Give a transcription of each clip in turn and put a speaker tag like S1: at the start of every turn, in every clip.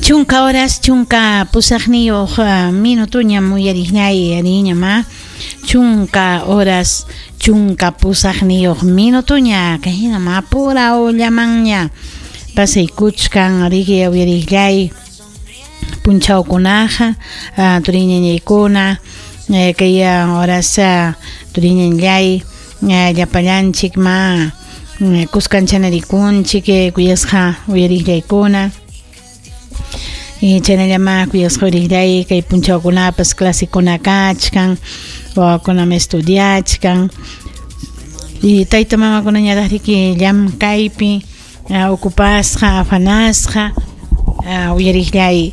S1: Chunka horas, chunka pusaqniyuq minutuñam uyariqñay riñama. Chunka horas, chunka pusaqniyuq minutuña kahinam apuraw-llamanña pasaykuchkan riki uyariqllay punchawkunaqa turiñañaykuna kay horas turiñañallay llapallanchik ma kuskanchana-rikunchik kuyasqa uyariqllaykuna. Chaynallama kuyasqa uyariqllay kay punchawkunapas clasekuna kachkan, wawakunam estudiachkan y tayta mamakunañataq riki llamkaypi ocupasqa, afanasqa uyariqllay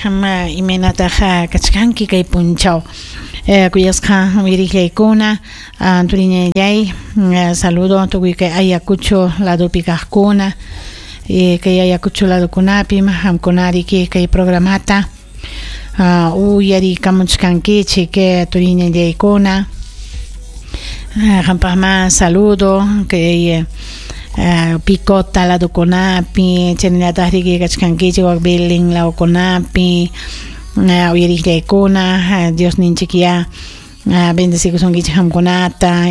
S1: qam imaynataq kachkanki kay punchaw kuyasqa uyariqllaykuna turiñallay saludo tukuy kay Ayacucho ladopi kaqkuna kay Ayacucho ladokunapim qamkuna riki kay programata uyarikamuchkankichik turiñallaykuna qampaqma saludo kay Picota ladokunapi chaynallataq riki kachkankichik wak Belén lawkunapi uyariqllaykuna Diosninchik ya bendecikusunkichik qamkunata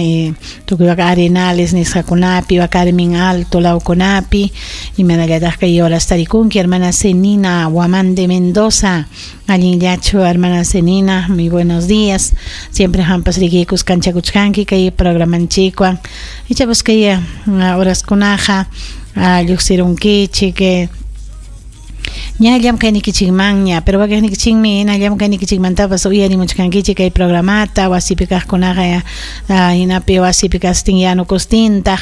S1: tukuy wak Arenales nisqakunapi wak Carmen Alto lawkunapi imanallataq kay horas tarikunki hermana Zenina Guamán de Mendoza allinllachu hermana Zenina, muy buenos días, siempre qampas riki kuskanchakuchkanki kay programanchikwan ichapas kay horaskunaqa lluqsirunkichik ña llamkaynikichikmanña, pero wakiqnikichikmi hina llamkaynikichikmantapas uyarimuchkankichik kay programata wasipi kaqkunaqa hinapi wasipi kastin yanukustintaq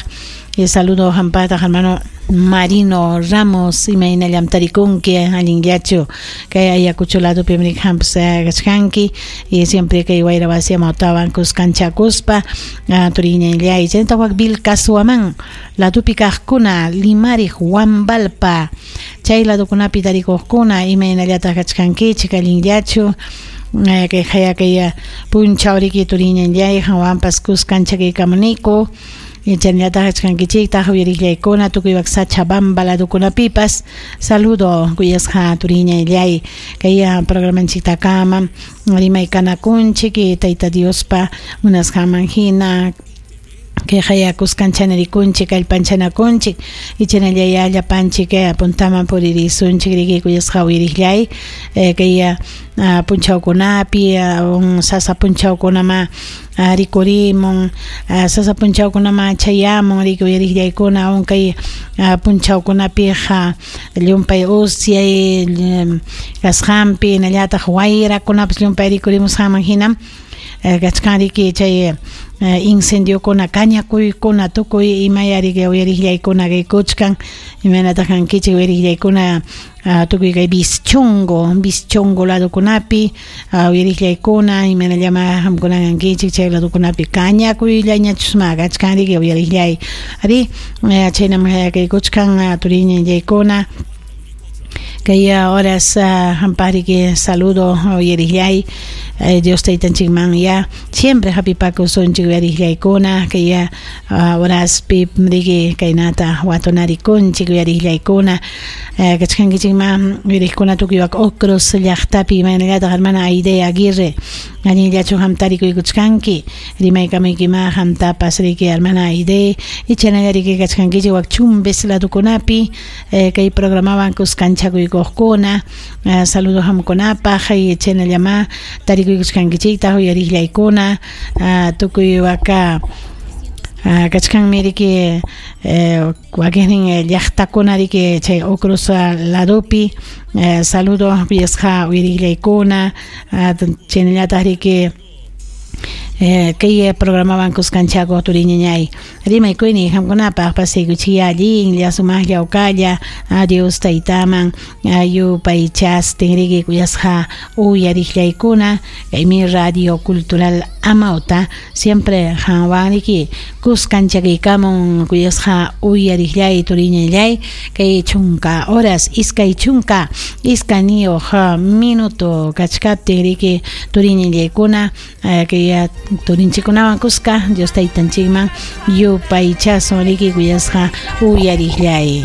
S1: saludo qampataq hermano Marino Ramos imaynallam tarikunki allinllachu kay Ayacucho ladopi qampas kachkanki y siempre kay wayra wasi amawtawan kuskanchakuspa turiñallay chaynataq wak Vilcashuamán ladopi kaqkuna Limariq Huambalpa chay ladokunapi tarikuqkuna imaynallataq kachkankichik allinllachu kay haya kay punchaw riki turiñallay qanwanpas kuskanchakuykamuniku chaynallataq kachkankichiktaq uyariqllaykuna tukuy wak Sachabamba ladokunapipas saludo kuyasqa turiñallay kay programanchiktakama rimaykanakunchik Tayta Diospa munasqanman hina kay haya kuskanchana-rikunchik kallpanchanakunchik ichanallay llapanchik puntaman puririsunchik riki kuyasqa uyariqllay kay punchawkunapi sasa punchawkunama rikurimun sasa punchawkunama chayamun riki uyariqllaykuna kay punchawkunapiqa llumpay usyay kasqanpi hinallataq wayrakunapas llumpay rikurimusqanman hinam kachkan riki chay incendiokuna kañakuykuna tukuy imaya riki uyariqllaykuna kaykuchkan imaynataq kankichik uyariqllaykuna tukuy kay Vischongo ladokunapi uyariqllaykuna imaynallama qamkuna kankichik chay ladokunapi kañakuyllañachusma kachkan riki uyariqllay ari chaynam kaykuchkan turiñallaykuna kay horas qampaq riki saludo uyariqllay Dios taytanchikman ya siempre hapipakusunchik uyariqllaykuna kay horaspi riki kaynata watunarikunchik uyariqllaykuna kachkankichikma uyariqkuna tukuy wak Ocros llaqtapi imaynallataq hermana Aide Aguirre allinllachu qam tarikuykuchkanki rimaykamuykima qamtapas riki hermana Aide ichanalla riki kachkankichik wak Chumbes ladokunapi kay programawan kuskanchakuykuqkuna saludo qamkunapaq chaynallama tarikuykuchkankichiktaq uyariqllaykuna tukuy waka kachkanmi riki wakiqnin llaqtakuna riki chay Ocros ladopi saludo kuyasqa uyariqllaykuna chaynallataq riki kay programawan kuskanchakuq turiñañay rimaykuyni qamkunapaq pasaykuchik allinlla sumaqlla uqalla Dios taytaman yupaychastin riki kuyasqa uyariqllaykuna kaymi Radio Cultural Amauta siempre qanwan riki kuskanchakuykamun kuyasqa uyariqllay turiñallay kay chunka horas iskay chunka iskayniyuq minuto kachkaptin riki turiñallaykuna kay turinchikunawan kuska Dios taytanchikman yupaychasun riki kuyasqa uyariqllay.